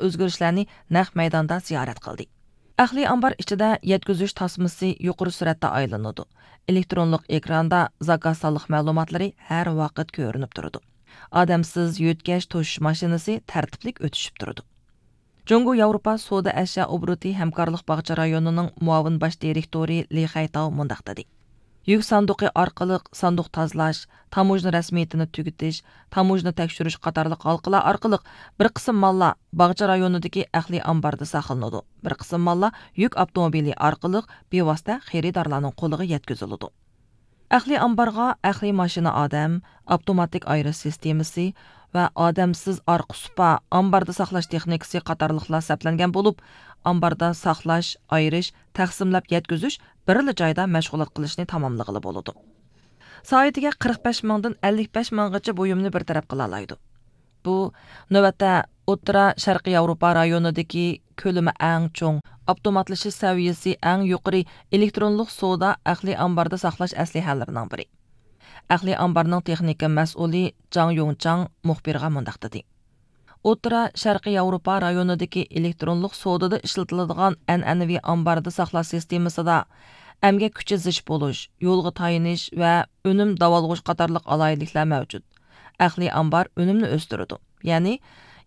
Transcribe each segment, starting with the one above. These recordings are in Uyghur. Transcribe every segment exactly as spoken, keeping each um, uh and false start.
ئۆزگىرىشلەرنى نەق مەيداندا زىيارەت قىلدى. ئەقلىي ئامبار ئىچىدە يەتكۈزۈش تاسمىسى يۇقىرى سۈرئەتتە ئايلىنىدۇ. ئېلېكترونلۇق ئېكراندا زاكاز سانلىق مەلۇماتلىرى ھەر ۋاقىت كۆرۈنۈپ تۇرىدۇ. ئادەمسىز يۆتكەش توشۇش ماشىنىسى تەرتىپلىك ئۆتۈشۈپ تۇرىدۇ. جۇڭگو ياۋروپا سودا ئەشيا ئوبوروتى ھەمكارلىق باغچە رايونىنىڭ مۇئاۋىن باش دىرېكتورى لى خەيتاۋ مۇنداق دېدى: يۈك ساندۇقى ئارقىلىق ساندۇق تازىلاش، تاموژنا رەسمىيىتىنى تۈگىتىش، تاموژنا تەكشۈرۈش قاتارلىق ھالقىلار ئارقىلىق بىر قىسىم ماللار باغچە رايونىدىكى ئەقلىي ئامباردا ساقلىنىدۇ، بىر قىسىم ماللار يۈك ئاپتوموبىلى ئارقىلىق بىۋاسىتە خېرىدارلارنىڭ قولىغا يەتكۈزۈلىدۇ. ئەقلىي ئامبارغا ئەقلىي ماشىنا ئادەم، ئاپتوماتىك ئايرىش سىستېمىسى ۋە ئادەمسىز ئارقا سۇپا، ئامباردا ساقلاش تېخنىكىسى قاتارلىقلار سەپلەنگەن بولۇپ، ئامباردا ساقلاش، ئايرىش، تەقسىملەپ يەتكۈزۈش بىرلا جايدا مەشغۇلات قىلىشنى تاماملىغىلى بولىدۇ. سائىتىگە قىرىق بەش مىڭدىن ئەللىك بەش مىڭغىچە بۇيۇمنى بىر تەرەپ قىلالايدۇ. بۇ، نۆۋەتتە، ئوتتۇرا شەرقىي ياۋروپا رايونىدىكى كۆلىمى ئەڭ چوڭ، ئاپتوماتلىشىش سەۋىيەسى ئەڭ يۇقىرى ئېلېكترونلۇق سودا ئەقلىي ئامباردا ساقلاش ئەسلىھەلىرىنىڭ بىرى. ئەقلىي ئامبارنىڭ تېخنىكا مەسئۇلى جاڭ يۇڭچاڭ مۇخبىرغا مۇنداق دېدى: ئوتتۇرا شەرقىي ياۋروپا رايونىدىكى ئېلېكترونلۇق سودىدا ئىشلىتىلىدىغان ئەنئەنىۋى ئامباردا ساقلاش سىستېمىسىدا ئەمگەك كۈچى زىچ بولۇش، يولغا تايىنىش ۋە ئۈنۈم داۋالغۇش قاتارلىق ئالاھىدىلىكلەر مەۋجۇت. ئەقلىي ئامبار ئۈنۈمنى ئۆستۈرىدۇ. يەنى،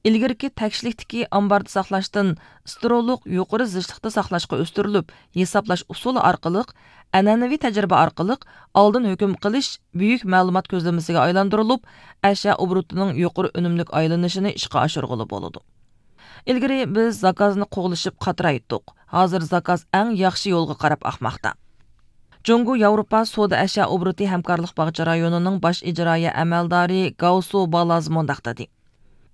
ئىلگىرىكى تەكشىلىكتىكى ئامباردا ساقلاشتىن ستېرولۇق يۇقىرى زىچلىقتا ساقلاشقا ئۆستۈرۈلۈپ، ھېسابلاش ئۇسۇلى ئارقىلىق، ئەنئەنىۋى تەجرىبە ئارقىلىق ئالدىن ھۆكۈم قىلىش بۈيۈك مەلۇمات كۆزلىمىسىگە ئايلاندۇرۇلۇپ، ئەشيا ئوبوروتىنىڭ يۇقىرى ئۈنۈملۈك ئايلىنىشىنى ئىشقا ئاشۇرغىلى بولىدۇ. ئىلگىرى بىز زاكازنى قوغلىشىپ قاترايتتۇق. ھازىر زاكاز ئەڭ ياخشى يولغا قاراپ ئاقماقتا. جۇڭگو ياۋروپا سودا ئەشيا ئوبوروتى ھەمكارلىق باغچە رايونىنىڭ باش ئىجرائىيە ئەمەلدارى گاۋسۇ بالاز مۇنداق دېدى: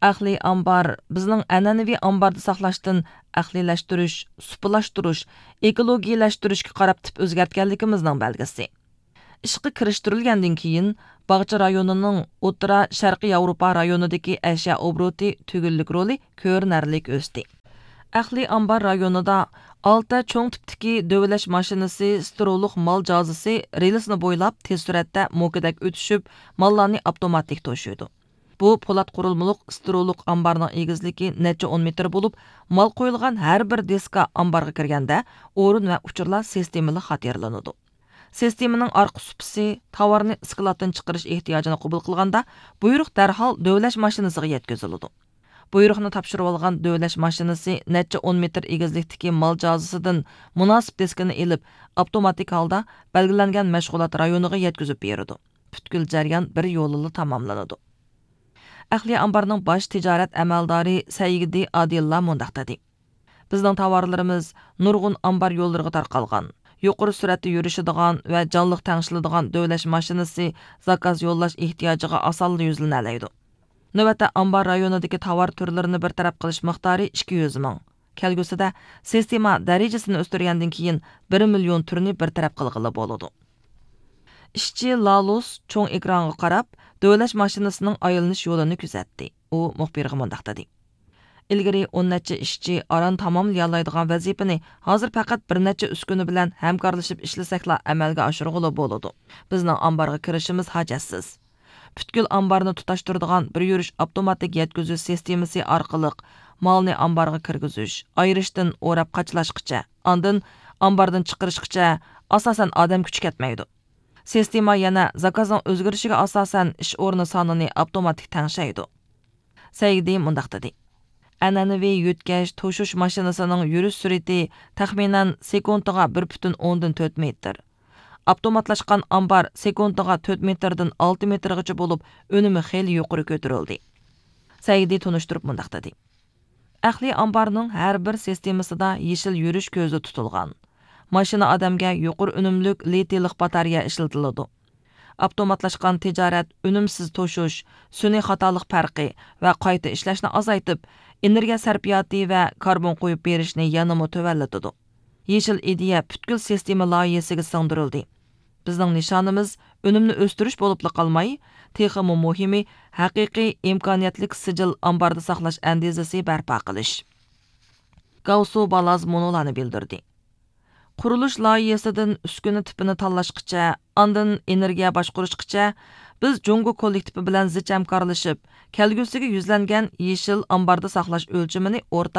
ئەقلىي ئامبار بىزنىڭ ئەنئەنىۋى ئامباردا ساقلاشتىن ئەقلىيلەشتۈرۈش، سۇپىلاشتۇرۇش، ئېكولوگىيىلەشتۈرۈشكە قاراپ تىپ ئۆزگەرتكەنلىكىمىزنىڭ بەلگىسى. ئىشقا كىرىشتۈرۈلگەندىن كېيىن، باغچە رايونىنىڭ ئوتتۇرا شەرقىي ياۋروپا رايونىدىكى ئەشيا ئوبوروتى تۈگۈنلۈك رولى كۆرۈنەرلىك ئۆستى. ئەقلىي ئامبار رايونىدا ئالتە چوڭ تىپتىكى دۆۋىلەش ماشىنىسى ستېرولۇق مال جازىسى رېلىسنى بويلاپ تېز سۈرئەتتە موكىدەك ئۆتۈشۈپ، ماللارنى ئاپتوماتىك توشۇيدۇ. بۇ پولات قۇرۇلمىلىق ستېرولۇق ئامبارنىڭ ئېگىزلىكى نەچچە ئون مېتىر بولۇپ، مال قويۇلغان ھەر بىر دىسكا ئامبارغا كىرگەندە، ئورۇن ۋە ئۇچۇرلار سىستېمىلىق خاتىرىلىنىدۇ. سىستېمىنىڭ ئارقا سۇپىسى تاۋارنى سكلادتىن چىقىرىش ئېھتىياجىنى قوبۇل قىلغاندا، بۇيرۇق دەرھال دۆۋىلەش ماشىنىسىغا يەتكۈزۈلىدۇ. بۇيرۇقنى تاپشۇرۇۋالغان دۆۋىلەش ماشىنىسى نەچچە ئون مېتىر ئېگىزلىكتىكى مال جازىسىدىن مۇناسىپ دىسكىنى ئېلىپ، ئاپتوماتىك ھالدا بەلگىلەنگەن مەشغۇلات رايونىغا يەتكۈزۈپ بېرىدۇ. پۈتكۈل جەريان بىر يولىلا تاماملىنىدۇ. ئەقلىي ئامبارنىڭ باش تىجارەت ئەمەلدارى سەيگىدى ئادىللا مۇنداق دېدى: بىزنىڭ تاۋارلىرىمىز نۇرغۇن ئامبار يوللىرىغا تارقالغان. يۇقىرى سۈرئەتتە يۈرۈشىدىغان ۋە جانلىق تەڭشىلىدىغان دۆۋىلەش ماشىنىسى زاكاز يوللاش ئېھتىياجىغا ئاسانلا يۈزلىنەلەيدۇ. نۆۋەتتە ئامبار رايونىدىكى تاۋار تۈرلىرىنى بىر تەرەپ قىلىش مىقدارى ئىككى يۈز مىڭ. كەلگۈسىدە سىستېما دەرىجىسىنى ئۆستۈرگەندىن كېيىن، بىر مىليون تۈرنى بىر تەرەپ قىلغىلى بولىدۇ. ئىشچى لالۇس چوڭ ئېكرانغا قاراپ، دۆۋىلەش ماشىنىسىنىڭ ئايلىنىش يولىنى كۆزەتتى. ئۇ مۇخبىرغا مۇنداق دېدى: ئىلگىرى ئون نەچچە ئىشچى ئاران تاماملىيالايدىغان ۋەزىپىنى ھازىر پەقەت بىر نەچچە ئۈسكۈنە بىلەن ھەمكارلىشىپ ئىشلىسەكلا ئەمەلگە ئاشۇرغىلى بولىدۇ. بىزنىڭ ئامبارغا كىرىشىمىز ھاجەتسىز. پۈتكۈل ئامبارنى تۇتاشتۇرىدىغان بىر يۈرۈش ئاپتوماتىك يەتكۈزۈش سىستېمىسى ئارقىلىق مالنى ئامبارغا كىرگۈزۈش، ئايرىشتىن ئوراپ قاچىلاشقىچە، ئاندىن ئامباردىن چىقىرىشقىچە ئاساسەن ئادەم كۈچى كەتمەيدۇ. سىستېما يەنە زاكازنىڭ ئۆزگىرىشىگە ئاساسەن ئىش ئورنى سانىنى ئاپتوماتىك تەڭشەيدۇ. سەيگىدى مۇنداق دېدى: ئەنئەنىۋى يۆتكەش، توشۇش ماشىنىسىنىڭ يۈرۈش سۈرئىتى تەخمىنەن سېكۇنتىغا بىر پۈتۈن ئوندىن تۆت مېتىر. ئاپتوماتلاشقان ئامبار سېكۇنتىغا تۆت مېتىردىن ئالتە مېتىرغىچە بولۇپ، ئۈنۈمى خېلى يۇقىرى كۆتۈرۈلدى. سەيگىدى تونۇشتۇرۇپ مۇنداق دېدى: ئەقلىي ئامبارنىڭ ھەر بىر سىستېمىسىدا يېشىل يۈرۈش كۆزدە تۇتۇلغان. ماشىنا ئادەمگە يۇقىرى ئۈنۈملۈك لىتىيلىق باتارېيە ئىشلىتىلىدۇ. ئاپتوماتلاشقان تىجارەت ئۈنۈمسىز توشۇش، سۈنئىي خاتالىق پەرقى ۋە قايتا ئىشلەشنى ئازايتىپ، ئېنېرگىيە سەرپىياتى ۋە كاربون قويۇپ بېرىشنى يەنىمۇ تۆۋەنلىتىدۇ. يېشىل ئىدىيە پۈتكۈل سىستېما لايىھىسىگە سىڭدۈرۈلدى. بىزنىڭ نىشانىمىز ئۈنۈمنى ئۆستۈرۈش بولۇپلا قالماي، تېخىمۇ مۇھىمى، ھەقىقىي ئىمكانىيەتلىك سىجىل ئامباردا ساقلاش ئەندىزىسى بەرپا قىلىش. گاۋسۇ بالاز مۇنۇلارنى بىلدۈردى: قۇرۇلۇش لايىھىسىدىن ئۈسكۈنە تىپىنى تاللاشقىچە، ئاندىن ئېنېرگىيە باشقۇرۇشقىچە، بىز جۇڭگو كوللېكتىپى بىلەن زىچ ھەمكارلىشىپ، كەلگۈسىگە يۈزلەنگەن يېشىل ئامباردا ساقلاش ئۆلچىمىنى ئورتاق